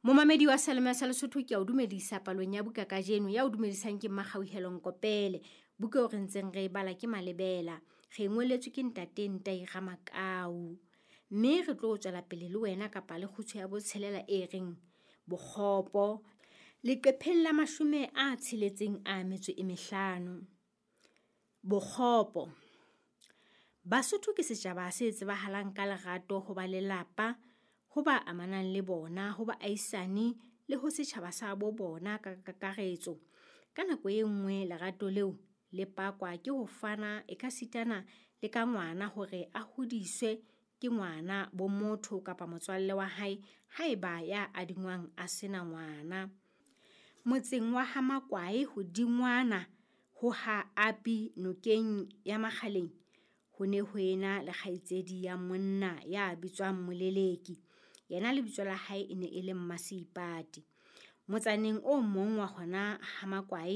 Momamedi wa Salome sa Lesotho, ke a o dumedisa palong ya buka kajeno. Ya o dumedisang ke Mmakgauhelo Nkopele. Buka eo re ntseng re e bala ke Malebela. Re e ngoletswe ke Ntate Ntai Ramakau. Mme re tlo tswela pele le wena kapa le kgutshwe ya botshelela e reng Bokgopo, leqepheng la 65. Bokgopo. Basotho ke setjhaba se tsebahalang ka lerato ho ba lelapa, ho ba amanang le bona, ho baahisani le ho setjhaba sa bo bona ka kakaretso. Ka nako e nngwe lerato leo le pakwa ke ho fana ekasitana le ka ngwana hore a hodiswe ke ngwana bo motho kapa motswalle wa hae haeba ya adingwang a sena ngwana. Motseng wa ha Makwae hodingwana ho ha Api nokeng ya Makgaleng, ho ne ho ena le kgaitsedi ya monna ya bitswang Moleleki. Yena lebitso la hae e ne e le Mmaseipati. Motsaneng o mong wa hona ha Makwae.